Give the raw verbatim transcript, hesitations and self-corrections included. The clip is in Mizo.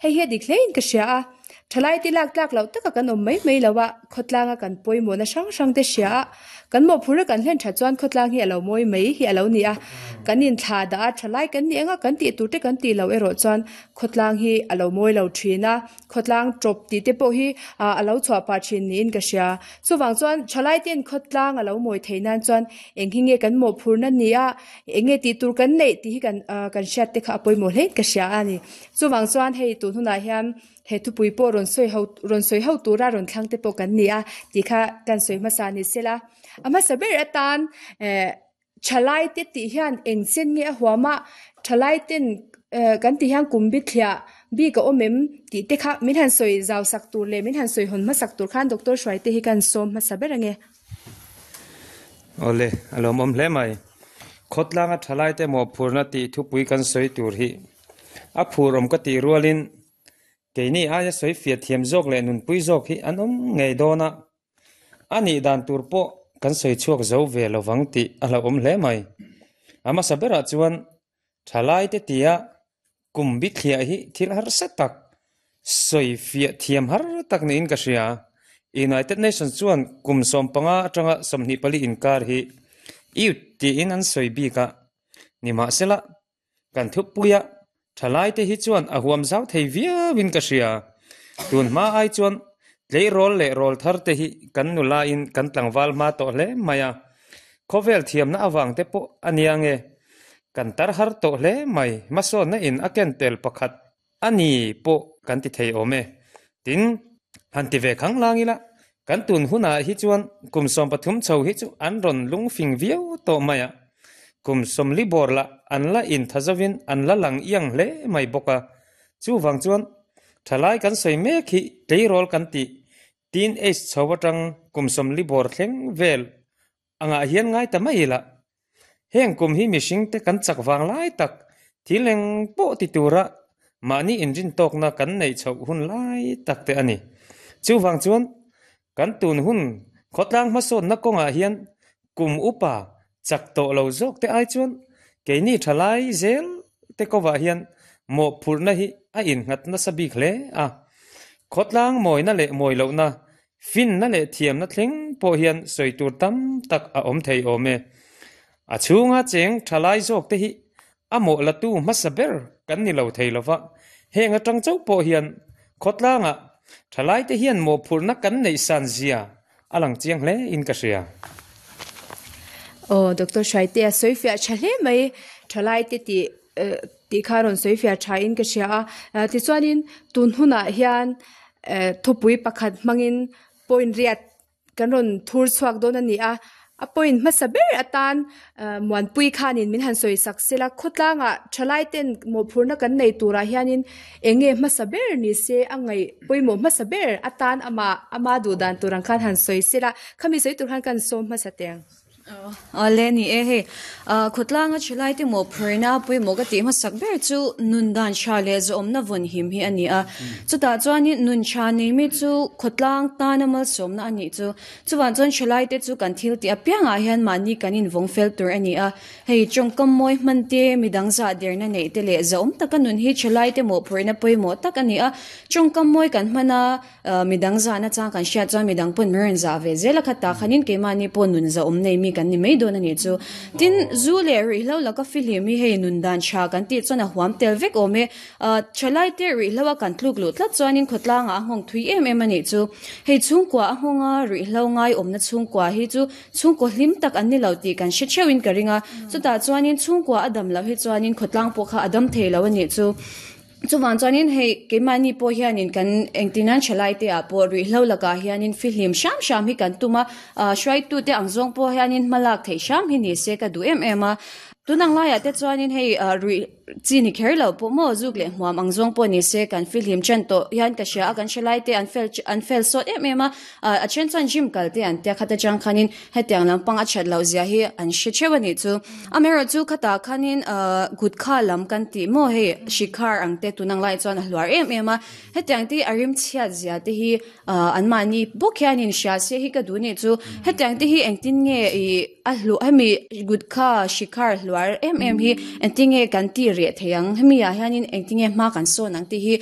Hei hi a dik hlein ka hria a, thalaite lak tlak loh taka kan awm mai mai lo a, khawtlanga kan pawimawhna hrang hrang te hria a, kan mawhphurhna kan hlen that chuan khawtlang hi a lo mawi mai hi a lo ni a. Kan inthla dah a, thalai kan nih anga kan tih tur te kan tih loh erawh chuan khawtlang hi a lo mawi lo thin a, khawtlang tawp tih te pawh hi a lo chhuah pah thin niin ka hria. Chuvang chuan thalai ten khawtlang a lo mawi theih nan chuan eng hi nge kan mawhphurhna ni a, eng nge tih tur kan neih tih hi kan kan hriat te kha a pawimawh hlein ka hria a ni. Chuvang chuan hei tun hunah hian he thupui pawh rawn sawi ho rawn sawi ho tura rawn thlang te pawh kan ni a tih kha kan sawi hmasa ni sela. A hmasa ber atan eh thalai te tih hian eng chen nge a huam a, thalai ten eh kan tih hian kum bithliah bik a awm em tih te kha min han sawi zau sak tur leh min han sawi hawn hmasak tur khan Doctor Hruaite hi kan sawm hmasa ber ange. Awle, a lawmawm hle mai. Khawtlanga thalai te mawhphurhna tih thupui kan sawi tur hi a phur awm ka tih rualin keini aia sawi fiah thiam zawk leh nunpui zawk hi an awm ngei dawn a, a nih dan tur pawh kan sawi chhuak zo ve lovang tih a hlauhawm hle mai. A hmasa berah chuan thalai te tia kum bithliah hi thil harsa tak sawi fiah thiam har tak niin ka hria. United Nations chuan kum sawm panga atanga sawmhnih pali inkar hi youth tiin an sawi bik a, nimahsela kan thupuia thalai te hi chuan a huam zau thei viauin ka hria. Tun hma ai chuan tleirawl leh rawl thar te hi kan nulain kan tlangval hma tawh hle mai a, khawvel thiamna avang te pawh a nia nge kan tar har tawh hle mai. Hmasawnna in a ken tel pakhat a ni pawh kan ti thei awm e. Tin, han ti ve khang lang ila, kan tun hunah hi chuan kum sawm pathum chho hi chu an rawn lungfing viau tawh mai a, kum sawmli bawr lah an la inthazovin an la lang iang hle mai bawk a. Chuvang chuan thalai kan sawi mek hi tleirawl kan tih teen age chho atang kum sawmli bawr thleng vel angah hian ngai ta mai ila. Heng kum hi mihring te kan chak vang lai tak thil eng pawh ti tura mahni inrin tawkna kan neih chhoh hun lai tak te a ni. Chuvang chuan kan tun hun khawtlang hmasawnna kawngah hian kum upa chak tawh lo zawk te ai chuan keini thalai zel te kawah hian mawhphurhna hi a innghat nasa bik hle a. Khawtlang mawina leh mawi lohna, finna leh thiamna thleng pawh hian sawi tur tam tak a awm thei awm e. A chhunga cheng thalai zawk te hi a mawh latu hmasa ber kan ni lo thei lova, heng atang chauh pawh hian khawtlangah thalai te hian mawhphurhna kan neih san zia a lang chiang hle in ka hria. Aw, Doctor Hruaite a sawi fiah tha hle mai. Thalai te tih tih kha rawn sawi fiah tha in ka hria a. Tichuanin tun hunah hian thupui pakhat hmangin point riat kan rawn thur chhuak dawn a ni a. A point hmasa ber atan Muanpui khanin min han sawi sak sela, khawtlangah thalai ten mawhphurhna kan nei turah hianin eng nge hmasa ber ni se a ngaih pawimawh hmasa ber atan amah ama duh dan tur ang khan han sawi sela, khami sawi tur khan kan sawm hmasa teng. Awle ni e hei, khawtlanga thalai te mawhphurhna pawimawh ka tih hmasak ber chu nun dan tha leh zawmna vawn him hi a ni a. Chutah chuanin nun tha nei mi chu khawtlang tana malsawmna a nih chu. Chuvang chuan thalai te chu kan thil tih apiangah hian mahni kan invawng fel tur a ni a. Hei tawngkam mawi hman te, midang zah derna neih te leh zawm taka nun hi thalai te mawhphurhna pawimawh tak a ni a. Tawngkam mawi kan hman a, midang zahna chang kan hriat chuan midang pawn min rawn zah ve zel a, khatah khanin keimahni pawh nun zahawm nei mi kan ni mai dawn a nih chu. Tin, zu leh ruihhlo laka fihlim hi hei nun dan tha kan tih chuan a huam tel vek awm e. Thalai te ruihhlo a kan tluk luh tlat chuanin khawtlangah a nghawng thui em em a nih chu. Hei chhungkua a nghawnga ruihhlo ngai awmna chhungkua hi chu chhungkaw hlim tak an ni lo tih kan hre theuhin ka ring a. Chutah chuanin chhungkua a dam loh hi chuanin khawtlang pawh kha a dam thei lo a nih chu. Chuvang chuanin hei keimahni pawh hianin kan engtinan thalai te ah pawh ruihhlo lakah hianin fihlim hram hram hi kan tum a, hruaitu te ang zawng pawh hianin hmalak theih hram hi ni se ka duh em em a. Tunang laiah te chuanin hei ruih chi ni kher lo pawh maw zuk leh hmuam ang zawng pawh ni se kan fihlim chen tawh hian ka hria a, kan thalai te an fel an fel sawt em em a, a then chuan gym kal te an tia khat atang khanin hetiang lampang a that loh zia hi an hre theuh a nih chu. Amaherawh chu khatah khanin gutkha lam kan tih maw hei shikhar ang te tunang laiah chuan a hluar em em a, hetiang te a rim chhiat zia te hi anmahni bawk hianin hria se hi ka duh a nih chu. Hetiang te hi engtin nge ih a hlu hemi gutkha shikhar hluar em em hi engtin nge kan tih reh thei ang, hemi ah hianin engtin nge hma kan sawn ang tih hi.